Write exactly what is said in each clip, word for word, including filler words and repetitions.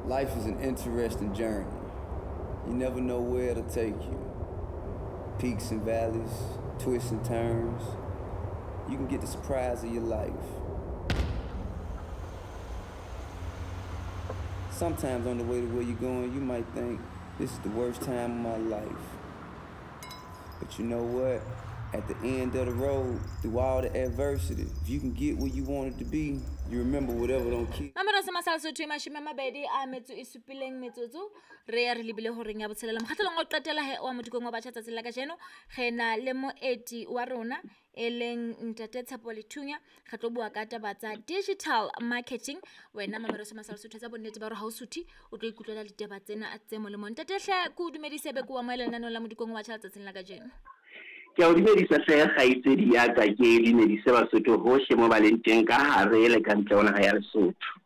Life is an interesting journey. You never know where it'll take you. Peaks and valleys, twists and turns. You can get the surprise of your life. Sometimes on the way to where you're going, you might think, this is the worst time of my life. But you know what? At the end of the road, through all the adversity, if you can get where you wanted to be, you remember whatever don't kill. Mamelo se masala Sotho e mashome a mabedi a metso e supileng metsotso re ya re lebile horeng ya botshelela mokgatlhelong wa ho qetela he wa modikong wa batjha tsatsing la kajeno re na le moeti wa rona e leng ntate Tshepo Lethunya re tlo bua ka taba tsa digital marketing. Wena mamelo se masala Sotho tsa bonnete ba hore ha o suthe o tlo ikutlwela ditaba tsena tse molemo. Ntate hle ke o dumedise be ke o amohele lenaneong la modikong wa batjha tsatsing la kajeno. Ke a o dumedisa hle kgaitsedi ya ka, ke dumedise Basotho hohle mo ba leng teng ka hare le ka ntle ho naha ya Lesotho.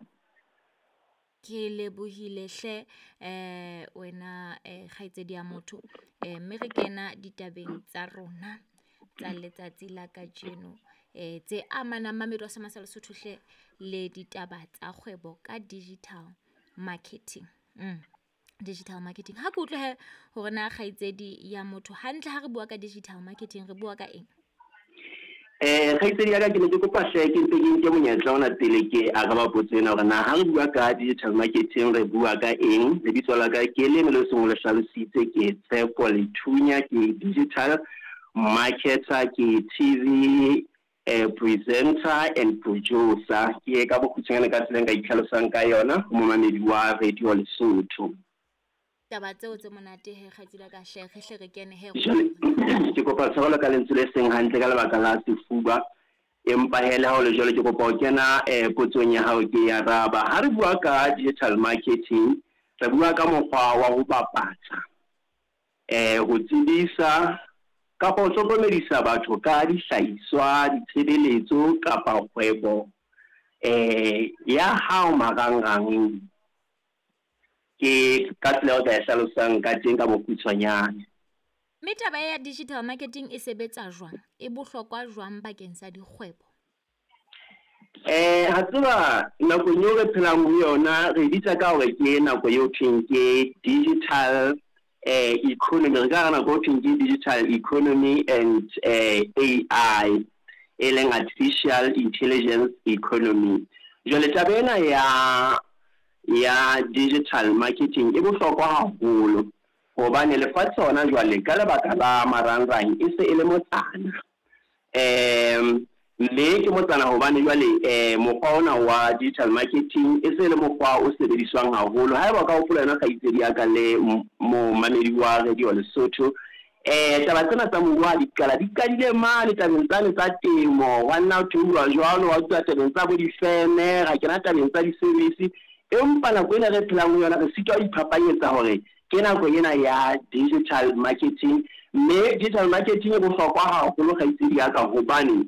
Ke lebohile hle eh wena eh kgaitsedi ya motho eh mme re kena ditabeng tsa rona tsa letsatsi la kajeno eh tse amanang mamedi wa Semasa Lesotho hle le ditaba tsa kgwebo ka digital marketing. Mm. Digital marketing. Ha ke utlwe he hore na kgaitsedi ya motho hantle ha re bua ka digital marketing re bua ka eng? Eh kgaitsedi ya ka, ke ne ke kopa hle ke ntse ke nke monyetla ona pele ke araba potso ena hore na ha re bua ka digital marketing re bua ka eng. Lebitso la ka ke le le seng le hlalositse, ke Tshepo Lethunya, ke digital marketer, ke T V eh, presenter and producer. Ke ka bokgutshwanyane ka tsela e nka itlhalosang ka yona ho momamedi wa Radio Lesotho. Taba tseo tse monate he kgaitsedi ya ka hle re hle re kene he. Jwale ke kopa tshwarelo ka lentswe le seng hantle ka lebaka la sefuba, empa he le ha ho le jwalo ke kopa ho kena eh potsong ya hao ke e araba. Ha re bua ka digital marketing re bua ka mokgwa wa ho bapatsa, eh ho tsebisa kapa ho hlokomedisa batho ka dihlahiswa, ditshebeletso kapa kgwebo eh ya hao marangrang. Ke ka tsela eo ka e hlalosang ka teng ka bokgutshwanyane. Mme taba ya digital marketing e sebetsa jwang? E bohlokwa jwang bakeng sa dikgwebo? Eh ha tseba nakong eo re phelang ho yona re bitsa ka hore ke nako eo thweng ke digital eh economy. Re ka re nako eo thweng ke digital economy and eh A I, e leng artificial intelligence economy. Jwale taba ena ya ya digital marketing e bohlokwa haholo hobane lefatshe hona jwale ka lebaka la marangrang e se e le motsana. Em mme ke motsana hobane jwale eh mokgwa ona wa digital marketing e se e le mokgwa o sebediswang haholo. Haeba o ka hopola yona kgaitsedi ya ka le momamedi wa Radio Lesotho, eh taba tsena tsa moruo ha di qala di qadile mane tabeng tsane tsa temo, wa nna ho theoha jwalo wa utlwa tabeng tsa bo difeme, ra kena tabeng tsa di-service. Empa nako ena re phelang ho yona re sitwa ho iphapanyetsa hore ke nako ena ya digital marketing. Mme digital marketing e bohlokwa haholo kgaitsedi ya ka hobane